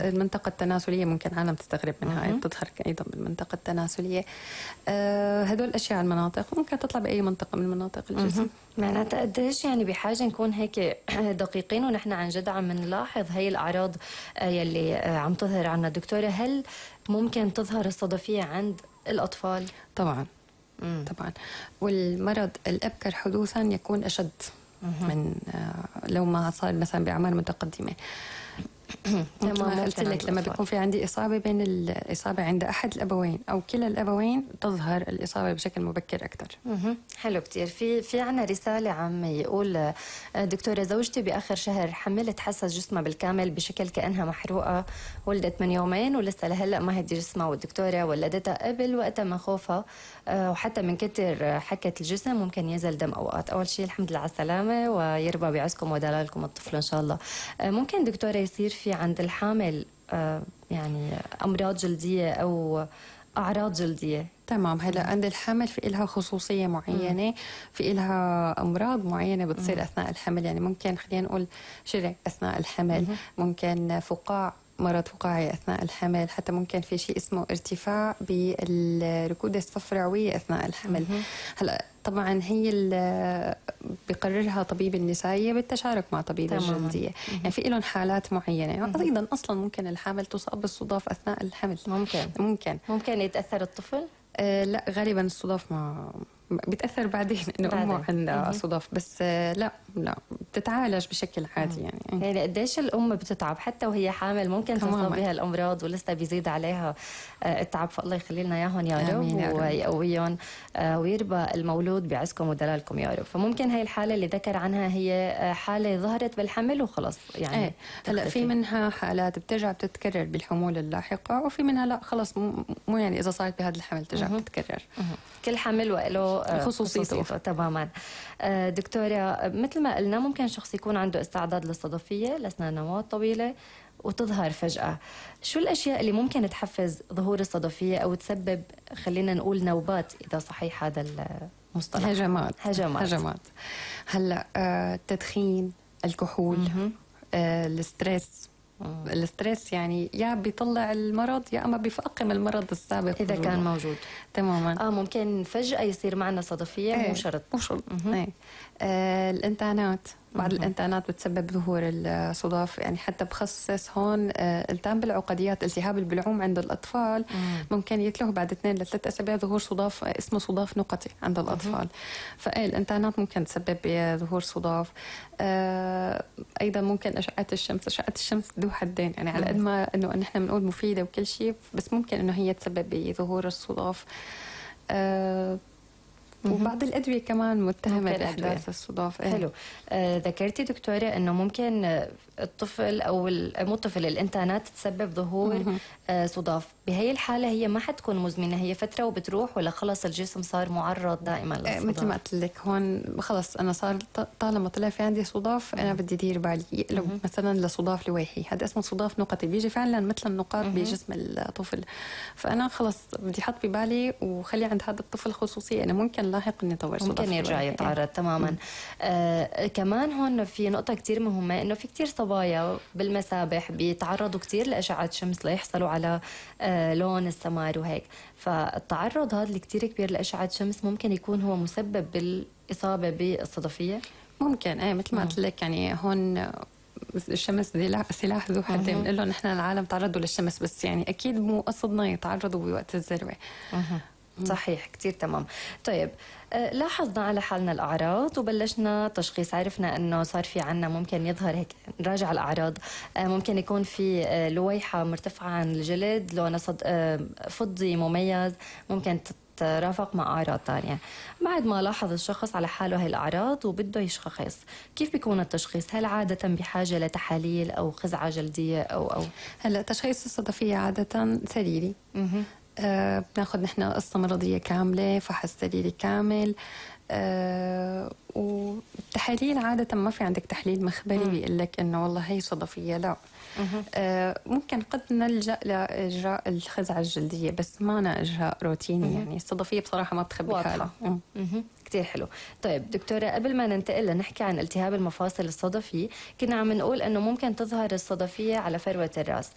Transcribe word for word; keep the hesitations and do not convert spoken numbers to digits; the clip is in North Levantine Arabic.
المنطقة التناسلية ممكن عالم تستغرب منها، هي بتظهر أيضا بالمنطقة التناسلية. أه هدول الأشياء المناطق ممكن تطلع بأي منطقة من مناطق الجسم. معناتها قديش يعني بحاجة نكون هيك دقيقين ونحن عن جد عم نلاحظ هي الأعراض يلي عم تظهر عنا دكتورة؟ هل ممكن تظهر الصدفية عند الأطفال؟ طبعا مم. طبعا، والمرض الأبكر حدوثا يكون أشد من آه لو ما صار مثلا بأعمار متقدمة. تمام. قلت لك لما بيكون في عندي إصابة بين الإصابة عند أحد الأبوين أو كلا الأبوين تظهر الإصابة بشكل مبكر أكثر. حلو كتير. في في عنا رسالة عم يقول دكتورة زوجتي بآخر شهر حملت، حسس جسمها بالكامل بشكل كأنها محروقة، ولدت من يومين ولسه لهلا ما هدي جسمها، والدكتورة ولدتها قبل وقتها ما خوفها وحتى من كتر حكت الجسم ممكن ينزل دم أوقات. أول شيء الحمد لله على السلامة ويربى بعزكم ودلالكم الطفل إن شاء الله. ممكن دكتورة يصير في عند الحامل يعني أمراض جلدية أو أعراض جلدية؟ تمام. هلا عند الحمل في إلها خصوصية معينة، مم. في إلها أمراض معينة بتصير مم. أثناء الحمل. يعني ممكن خلينا نقول شرع أثناء الحمل، مم. ممكن فقاع، مرض فقاعي أثناء الحمل، حتى ممكن في شيء اسمه ارتفاع بالركودة الصفراوية أثناء الحمل. مم. هلا طبعا هي اللي بيقررها طبيب النسائية بالتشارك مع طبيب الجلدية. يعني في لهم حالات معينة. أيضا أصلا ممكن الحامل تصاب بالصداف أثناء الحمل. ممكن ممكن ممكن يتأثر الطفل؟ آه لا، غالبا الصداف ما بيتأثر بعدين انه امه عندها صداف، بس آه لا لا بتتعالج بشكل عادي. يعني يعني قديش الام بتتعب حتى وهي حامل، ممكن تصاب بها الامراض ولسه بيزيد عليها آه التعب. فالله يخلي لنا اياهم يا رب ويقويهم آه ويربى المولود بعزكم ودلالكم يا رب. فممكن هاي الحاله اللي ذكر عنها هي حاله ظهرت بالحمل وخلاص يعني. ايه هلا في منها حالات بترجع بتتكرر بالحمول اللاحقه، وفي منها لا خلص مو يعني اذا صارت بهذا الحمل ترجع بتتكرر. كل حمل وله خصوصيته. تماما. دكتورة مثل ما قلنا ممكن شخص يكون عنده استعداد للصدفية لسنوات طويلة وتظهر فجأة. شو الأشياء اللي ممكن تحفز ظهور الصدفية أو تسبب خلينا نقول نوبات إذا صحيح هذا المصطلح؟ هجمات هجمات, هجمات. هلا آه التدخين، الكحول، آه الستريس. الستريس يعني يا بيطلع المرض يا اما بيفاقم المرض السابق اذا كان موجود. تماما. اه ممكن فجأة يصير معنا صدفية. ايه. مو شرط مو شرط. ايه. آه الانتانات، بعض الانتانات بتسبب ظهور الصداف. يعني حتى بخصص هون آه التهاب بالعقديات، التهاب البلعوم عند الاطفال مم. ممكن يتلوه بعد اثنين لثلاث اسابيع ظهور صداف اسمه صداف نقطي عند الاطفال. فايه الانتانات ممكن تسبب ظهور صداف. آه ايضا ممكن اشعه الشمس. اشعه الشمس ذو حدين، يعني على قد ما انه نحن بنقول مفيده وكل شيء، بس ممكن انه هي تسبب بظهور الصداف. آه وبعض الأدوية كمان متهمة بإحداث الصداف. إيه؟ حلو. آه ذكرتي دكتورة أنه ممكن الطفل أو مو الطفل الإنتانات تسبب ظهور آه صداف. بهي الحالة هي ما حتكون مزمنة، هي فترة وبتروح، ولا خلص الجسم صار معرض دائما للصداف؟ مثل ما قلت لك هون خلص أنا صار طالما طلع في عندي صداف أنا بدي دير بالي يقلب مثلا لصداف لويحي. هذا اسمه صداف نقطي، بيجي فعلا مثل النقاط بجسم الطفل. فأنا خلص بدي حط ببالي وخلي عند هذا الطفل خصوصية أنا ممكن لاحق انه يطور صداف، ممكن يرجع يتعرض. يعني. تماما. آه كمان هون في نقطة كتير مهمة، انه في كتير صبايا بالمسابح بيتعرضوا كتير لأشعة شمس ليحصلوا على آه لون السمار وهيك. فالتعرض هذا اللي كتير كبير لأشعة شمس ممكن يكون هو مسبب بالإصابة بالصدفية. ممكن ايه مثل ما قلت لك. يعني هون الشمس سلاح ذو حدين. بنقول لهم نحن العالم تعرضوا للشمس، بس يعني اكيد مو قصدنا يتعرضوا بوقت الذروة. صحيح. كتير تمام. طيب آه لاحظنا على حالنا الأعراض وبلشنا تشخيص، عرفنا أنه صار في عنا ممكن يظهر هيك. نراجع الأعراض. آه ممكن يكون في آه لويحة مرتفعة عن الجلد، لونها صد آه فضي مميز، ممكن ترافق مع أعراض ثانية. بعد ما لاحظ الشخص على حاله هاي الأعراض وبده يشخص، كيف بيكون التشخيص؟ هل عادة بحاجة لتحاليل أو خزعة جلدية أو أو هلا تشخيص الصدفية عادة سريري. آه بناخد نحن قصة مرضية كاملة، فحص دليلي كامل، آه والتحاليل عادة ما في عندك تحليل مخبري بيقول لك إنه والله هي صدفية، لا. آه ممكن قد نلجأ لإجراء الخزعة الجلدية، بس ما أنا إجراء روتيني. يعني الصدفية بصراحة ما بتخبي حالها. كتير حلو. طيب دكتورة، قبل ما ننتقل لنحكي عن التهاب المفاصل الصدفي، كنا عم نقول انه ممكن تظهر الصدفية على فروة الراس.